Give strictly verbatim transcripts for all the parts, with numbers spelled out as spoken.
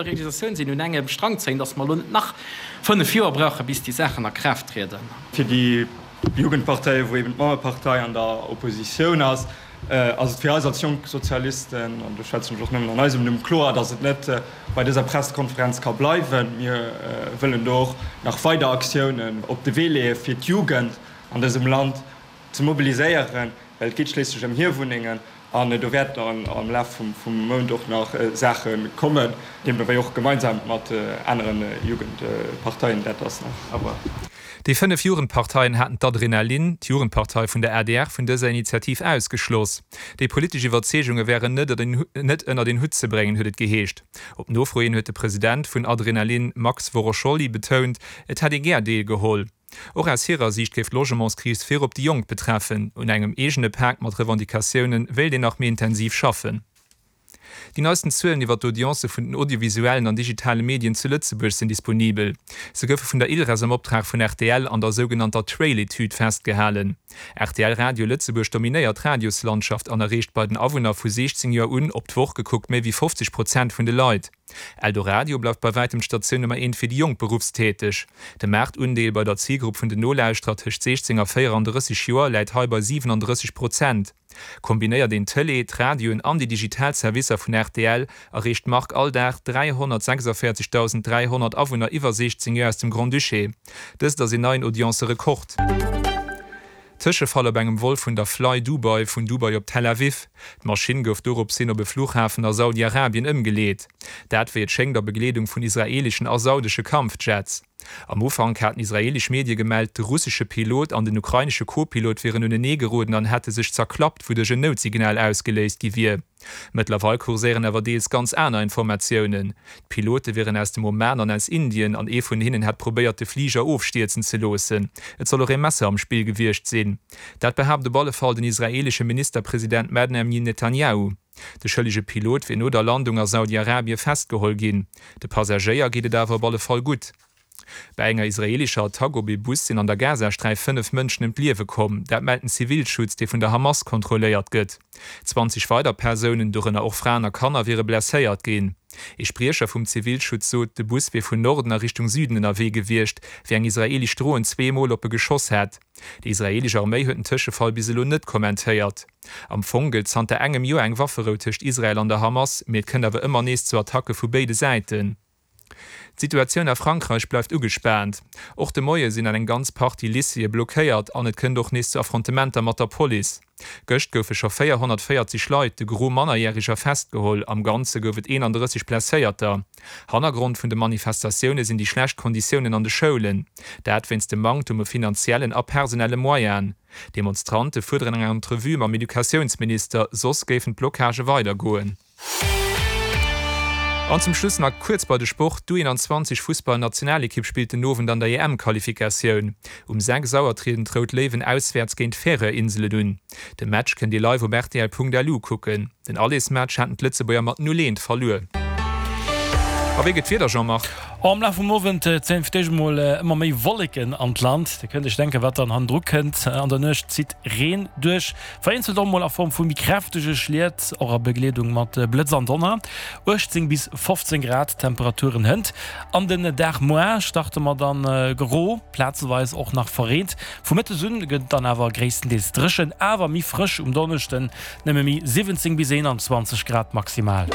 Realisatioun sinn, un engem Strang zéien, dass mer elo net nach fënnef Joer brauchen, bis déi Saachen a Kraaft trieden. Fir déi Jugendparteien, wou eben d'Mammepartei an der Oppositioun ass, ass et fir eis als jonk Sozialisten, an do schwätzen ech och nëmmen an eisem Numm, kloer, dass et net bei dëser Pressekonferenz ka bleiwen. Mir wëllen do och nach weider Aktiounen op de Wee leeë fir d'Jugend an dësem Land ze mobiliséieren, well et geet schliisslech ëm hir Wunnengen. An do wäerten am Laf vum Mount och nach Saache kommen, deemno wéi och gemeinsam mat anere Jugendparteien. Dat ass nach à voir. Déi fënnef Jugendparteien haten d'Adrenalin, d'Jugendpartei vun der adr, vun dëser Initiativ ausgeschloss. Déi politesch Iwwerzeegunge wären net ënnert een Hutt ze bréngen, huet et geheescht. Op Nofro hin huet de President vun Adrenalin Max Worosholli betount, et hätt ee gär deelgeholl. Och aus hirer Siicht géif d'Logementskris virop déi Jonk betreffen. Un engem eegene Pak mat Revendicatioune wéilt een nach méi intensiv schaffen. Déi neisten Zuelen iwwer d'Audiencë vun den audiovisuellen an digitale Medien zu Lëtzebuerg sinn disponibel. Se goufe vun der ILReS am Optrag vun rtl an der sougenannter Trail-Etüd festgehalen. Rtl Radio Lëtzebuerg dominéiert d'Radioslandschaft an erreecht bei den Awunner vu siechzéng Joer un op d'Woch gekuckt méi wéi fofzeg Prozent vun de Leit. Eldoradio bleift bei wäitem d'Statioun Nummer eent fir déi jonk Beruffstäteg. De Maartundeel bei der Zilgrupp vun den Nolauschterer tëscht siechzéng a véierandrësseg Joer läit hei bei siwenandrësseg Prozent. Kombinéiert een d'Tëlee, d'Radioen an déi digital Servicer vun rtl, erreecht d'Mark all Dag dräihonnertsechsundvéierzegdausend dräihonnert Awunner iwwer siechzéng Joer aus dem Grand-Duché. Dëst ass een neien Audiencerekord. Tëschefall op engem Vol vun der Fly Dubai vun Dubai op Tel Aviv. D'Maschinn gouf dorops hin op e Fluchhafen a Saudi-Arabien ëmgeleet. Dat wéi et schéngt a Begleedung vun israeeleschen a saudesche Kampfjets. Am Ufank haten israeelesch Medie gemellt, de russesche Pilot an den ukrainesche Co-Pilot wieren unenee geroden an hätte sech zerklappt, wouduerch en Noutsignal ausgeléist gi wier. Mëttlerweil kurséieren awer deels ganz aner Informatiounen. D'Pilote wieren aus dem Oman an aus Indien an ee vun hinnen hätt probéiert, de Fliger ofstierzen ze loossen. Et soll och ee Messer am Spill gewiescht sinn. Dat behaapt op alle Fall den israeelesche Ministerpresident Benjamin Netanjahu. De schëllege Pilot wier no der Landung a Saudi-Arabie festgeholl ginn. De Passagéier geet et awer op alle Fall gutt. Bei enger israeelescher Attack op ee Bus sinn an der Gazasträif fënnef Mënschen ëm d'Liewe komm. Dat mellt den Zivilschutz, dee vun der Hamas kontrolléiert gëtt. Zwanzeg weider Persounen, dorënner och Fraen a Kanner, wiere blesséiert ginn. Ee Spriecher vum Zivilschutz sot, de Bus wier vun Norden a Richtung Süden ënnerwee gewiescht, wéi eng israeelesch Dron zwee Mol op e geschoss hätt. Déi israeelesch Arméi huet den Tëschefall bis elo net kommentéiert. Am Fong gëllt zanter engem Joer eng Wafferou tëscht Israel an der Hamas, mee et kënnt awer ëmmer nees zu Attacke vu béide Säiten. D'Situatioun a Frankräich bleift ugespaant. Och de Moie sinn an eng ganz Partie Lycéeë blockéiert an et kënnt och nees zu Affrontementer mat der Police. Gëscht goufe scho véierhonnertvéierzeg Leit, de Gros Mannerjäreger, festgeholl. Am Ganze gouf et eenandrësseg Blesséierter. Hannergrond vun de Manifestatioune sinn déi schlecht Konditiounen an de Schoulen. Dat wéinst dem Manktum u finanziellen a personelle Moyenen. D'Demonstrante fuerderen eng Entrevue mam Educatiounsminister, soss géifen d'Blocagë weidergoen. An zum Schluss nach kuerz bei de Sport, D'U eenanzwanzeg Fussball-Nationalekipp spillt den Owend an der E M-Qualifikatioun. Um sechs Auer trieden d'Rout Léiwen auswäerts géint d'Färöer-Inselen un. De Match kënnt Dir live op rtl Punkt L U kucken. Den Allersmatch haten d'Lëtzebuerger mat null eent verluer. A wéi gëtt d'Wieder, Jean-Marc? Am Laf vum Owend zéien fir d'éischt emol ëmmer méi Wolleken an d'Land. Dir kënnt Iech denken, wat dann hannendru kënnt. An der Nuecht zitt Reen duerch, vereenzelt och mol a Form vu méi kräftege Schliet, och a Begleedung mat Blëtz an Donner. uechtzéng bis fofzéng Grad Temperaturen hënt. An den Dag muar starte mer dann gro, plazeweis och nach verreent. Vu Mëttes un gëtt et dann awer gréisstendeels dréchen, awer méi frësch um Donneschden, nëmme méi siwwenzéng bis eenanzwanzeg Grad maximal.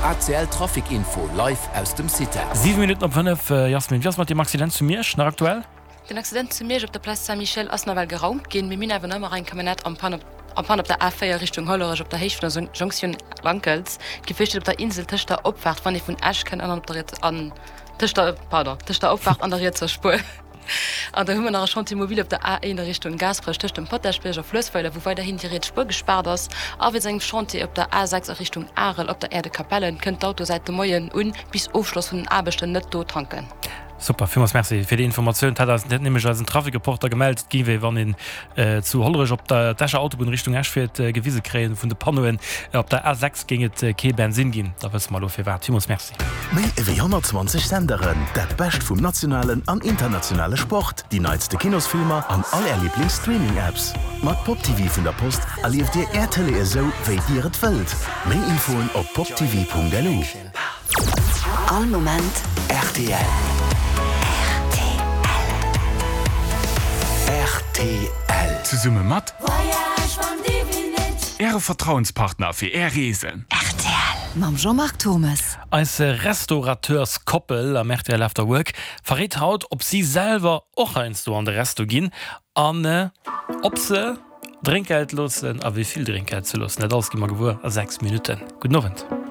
A C L Trafic Info live aus dem CITEL. Siwe Minutten op fënnef, Jasmin, wéi ass mat deem Accident zu Miersch nach aktuell? Den Accident zu Miersch op der Place Saint-Michel ass nawell geraumt ginn. Mir hunn awer nach ëmmer eng Camionnette am Panne en panne op der A véier Richtung Hollerech op der Héicht vun der Jonktioun Wankels. D'Gefier steet op der Insel tëscht der Opfaart, wann ee vun Esch kënnt, an op der riets an tëscht der pardon tëscht der Opfaart an der rietser Spuer. An da hu mer nach e Chantier mobile op der A een a Richtung Gaasperech tëscht dem Potaschbierg a Fluessweiler, wou weiderhin déi riets Spuer gespaart ass. A wéinst engem Chantier op der A sechs a Richtung Arel op der Aire de Capellen kënnt d'Auto säit de Moien un bis Ofschloss vun den Aarbechten net do tanken. Super, villmools Merci fir déi Informatioun. Et hat eis net nämlech eisen Trafic-Reporter gemellt, et géif ee wann een zu Hollerech op der d'Escher Autobunn Richtung Esch fiert, gewise kréien vun de Panneauen, op der A sechs géing et kee Bensinn ginn. Da wësse mer elo firwat. Villmools Merci. Méi ewéi honnertzwanzeg Senderen, dat Bescht vum nationalen an internationale Sport, déi neitste Kinosfilmer an all Är Liiblings-Streaming-Apps. Mat Pop T V vun der Post erlieft Dir Är Tëlee esou, wéi Dir et wëllt. Méi Infoen op poptv Punkt L U. All Moment rtl. Rtl. Zesumme mat Äre Vertrauenspartner fir Är Reesen. Rtl mam Jean-Marc Turmes. Eis Restaurateurs-Koppel am rtl After Work verréit haut, ob si selwer och heiansdo an de Resto ginn an ob se Drénkgeld loossen a wéi vill Drénkgeld se loossen. Dat alles gi mer gewuer a sechs Minutten. Gudden Owend.